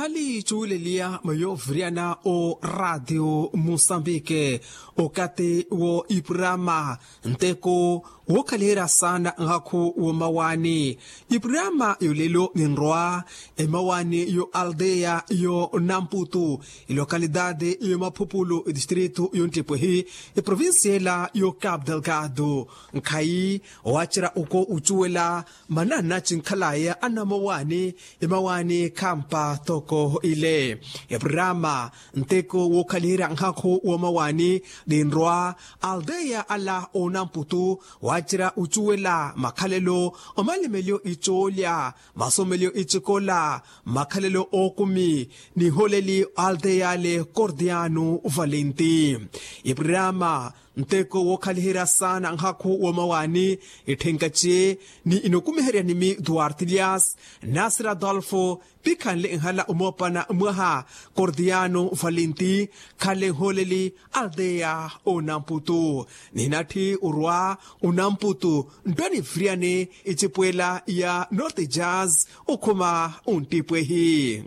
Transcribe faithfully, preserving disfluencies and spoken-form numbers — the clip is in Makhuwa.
Aliicuwileliya mayoviriyana o ratio musambike okati wo iprama nteko wookhaliherya saana nhakhu womawani. Iprama yolelo ninrwa emawani yo aldeya yo namputu, ilokalidade yo maphupulu distrito yo ntipwehi, eprovincia ela yo cap delgado. Nkhayi owacerya oko ucuwela manana cinkhalaya anamawani, emawani khampa toko ile. Eprama nteko wookhaliherya nhakhu womawani ninrwa aldeya ala onamputu, wacerya ucuwela makhalelo, omalimelyo icoolya, masomelyo icikola, makhalelo ookumi, niholeli aldeya ale cordiano valenti. Iprama nteko wookhaliherya saana nhakhu womawani, itthenkace ni inokumiherya nimi duarte elias, nasir adolfo, pikhanle nhala omoopana mwaha cordiano valenti, khanle nholeli aldeya onamputu. Ninatthi orwa onamputu nttwa nifiriyane icipwela ya norte jazz okhuma onttipwehi.